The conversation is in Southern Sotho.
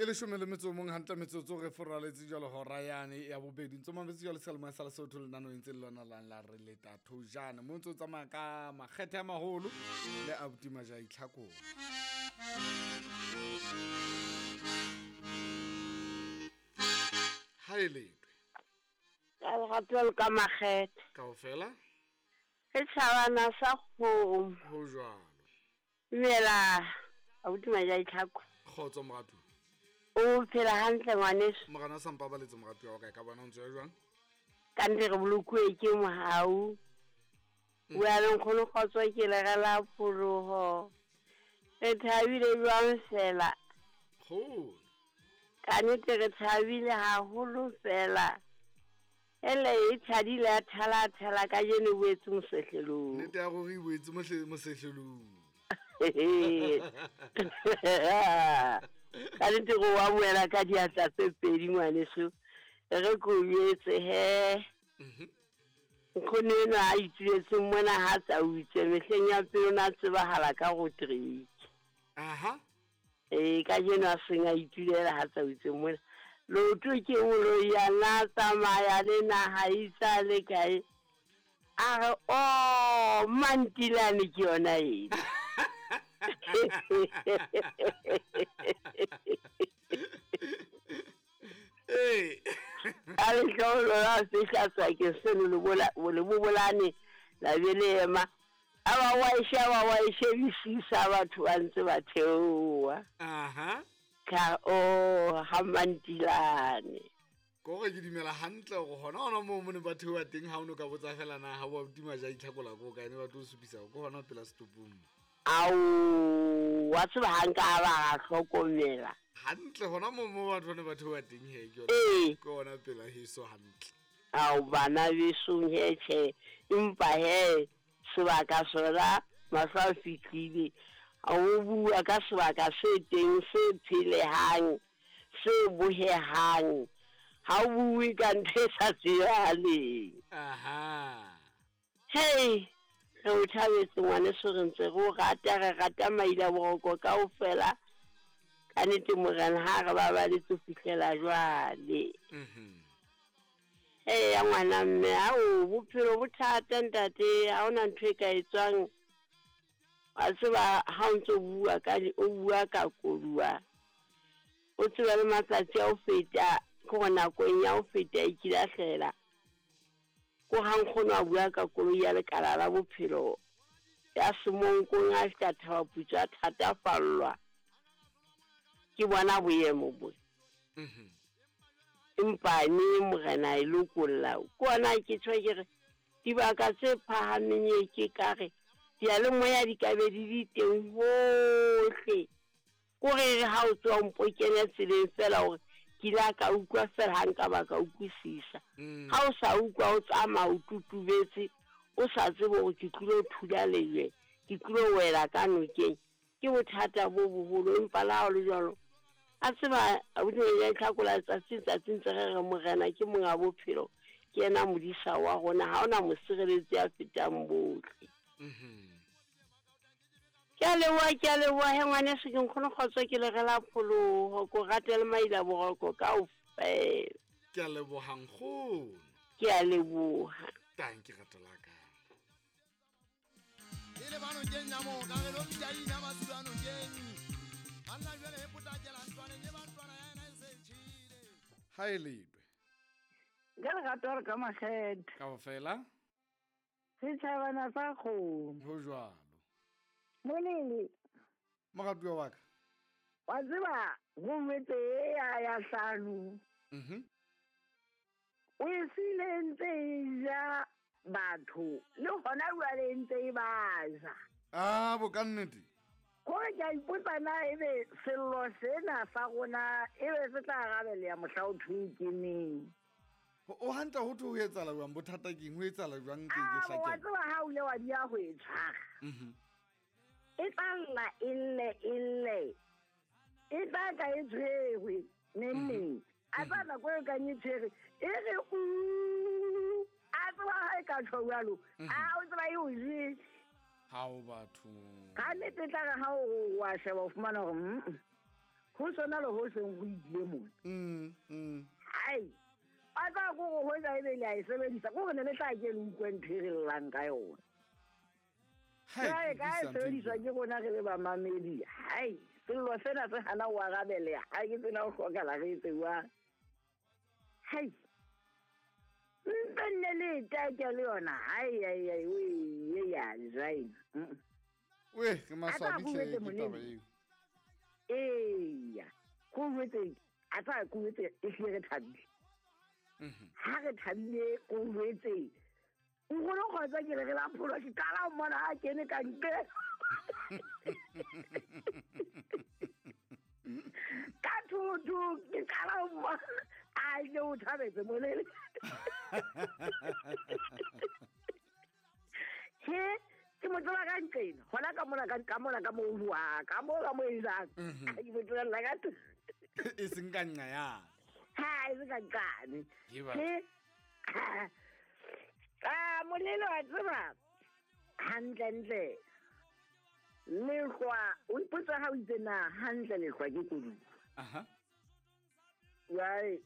E leshome le metso o mong hantle metsotso re foraletse jwalo hora yane ya bobedi. Ntso mametse jwalo seyalemoya sa Lesotho lenaneo ntse le lona lang la re leta thojana. Mo ntse o tsamaya ka makgethe a maholo le abuti Majai Tlhakong. Ha e letwe. Ka lerato le ka makgethe. Kaofela. Setjhabana sa kgomo. Ho jwalo. Dumela abuti Majai Tlhako. Kgotso moratu. O phela hantle ngwaneso. Morena o sa mpabaletse moratu wa ka, ka bona o ntse ya jwang? Ka nnete re bolokuwe ke mohau. Bua le nkgono kgotso ke le re la pholoho. Re thabile jwang fela. Kgolo. Ka nnete re thabile haholo fela. Ele e tshadile ya thala thala ka jeno boetse mosehlelong. Nnete ya gore e boetse mosehlelong. Ka nnete go wa boela ka diatla tse pedi ngwaneso. Re ko jwetse he. Nkgono enwa a ituletseng mona ha tsa utswe mehleng ya pele o ne a tsebahala ka go treke. Aha. Ee, ka jeno a seng a itulela ha tsa utswe mona. Loto ke moloi ya na tsamaya le naha itsa le kae. A re o mantilane ke yona ena. Ee. Ka lehloholo la fihla sebakeng seno le bobolane la be le ema. A ba wa e sheba wa e shebisisa batho ba ntse ba theoha. Aha. Ka o ha mantilane. Ko re ke dumela hantle gore gona gona moo mo ne ba theoha teng ha o ne ka botsa fela na ha wa tima ja itlhakola ko kae ne ba tlo supisa ko gona pela setopong. Ao, wa tseba ha nka ba ga hlokomela. Hantle gona moo mo batho ne ba theoha teng he ke yona. Ke gona pela heso hantle. Ao bana besong he tjhe, empa he sebaka sona mahlo a fihlile. O bua ka sebaka se teng se phelehang se bohehang. Ha o bue ka ntho e sa tsebahaleng. Aha. Hey, re o thabetse ngwaneso, re ntse re o rata, re rata maila boroko kaofela. Ka nnete morena ha re babaletse ho fihlela jwale. Eya ngwana mme, ao bophelo bo thata ntate, ha hona ntho e ka etswang. Wa tseba ha o ntso bua ka o bua ka koduwa. O tseba le matsatsi a ho feta, ke hore nakong ya ho feta e kile a hlela. Ko ha nkgono a bua ka koloi ya lekala la bophelo ya semonkong a fihla thaba putswa a thatafallwa. Ke bona boemo bo. Empa ne morena e lokolla. Ke ona ke tjho ke re dibaka tse phahameng e ke ka re diyalemoya di ka be di di teng hohle. Kore re ha o tswa mpo kene tseleng fela hore ke ile ka utlwa fela ha nka ba ka utlwisisa. Ha o sa utlwa o tsamaya o tutubetse, o sa tsebe hore ke tlilo thula lejwe, ke tlilo wela ka nokeng. Ke bothata bo boholo empa le ha ho le jwalo. A tseba abuti ya Tlhakola tsatsi tsatsi ntse re re morena ke monga bophelo, ke yena modisa wa rona, ha ona mosireletsi a fetang bohle. Ke a leboha, ke a leboha he ngwaneso, ke nkgono kgotso ke le re la pholoho, ko rate le maila boroko kaofela. Ke a leboha nkgono. Ke a leboha. Tanki rato la ka. E le bano keng ya mo, ka re lo bitsa ina masulano keng. Banna jwale e potlakela ntlwaneng e ba ntlwana ya ena e se tjhile. Ha e letwe. Ka lerato re ka makgethe. Kaofela. Setjhabana sa kgomo. Ho jwalo. Molele. Moratuwa wa ka. Wa tseba ho wetse ya hlano. O e siile ntse e ja batho le hona jwale ntse e ba ja. Ah, bo ka nnete. Kore ke a ipotsa na ebe sello sena sa rona ebe se tla arabeleha mohla o thweng ke neng. O hantle ho thwe ho etsahala jwang, bothata keng, ho etsahala jwang ke ke Ah, wa hlakela? tseba ha o ile wa di ya ho e tshwara. E tla lla, e lle, e lle. E tla tla e tshwerwe neng neng. A tseba nako e kang e tshwere, e re u. A tseba ha e ka tjho jwalo. A o tseba e o jele. Ha o batho. Ka nnete tla re ha o wa sheba o fumana hore, Ho sona le ho seng ho ile mona. Hai. A tla go go hwetsa ebe le a e sebedisa. Ko re ne le tla ke le utlwe ntho e re llang ka yona. Hai, Jwale ka e sebediswa ke rona re le bamamedi. Hai, sello sena se hana ho arabeleha. Ha ke tsena ho hlokala re etse jwang. Hai. Ntse nne le e take le yona. Hai, hai, hai, we, ya, jwaena. We, ke maswabi A tla hle go ke jwetse taba Molemo. eo. Eya, ko jwetse, a tla ko jwetse e hlile re thabile. Ha re thabile ko jwetse. Nkgono kgotsa ke re re la pholo ke qala ho mmona ha kene ka ntle. Ka thotho ke qala ho mmona a ile o thabetse molele. He, ke mo tseba ka nqena, hona ka mona ka mona ka mo bua, ka mo ka mo etsang. Ke mo tsebella ka thotho. E seng ka nqa yane. Ha, e se ka nqane. Ke ba- He, ah, molelo wa tseba hantlentle lehlwa o ipotsa ha o itse na hantle lehlwa ke koduwa. Aha. Jwale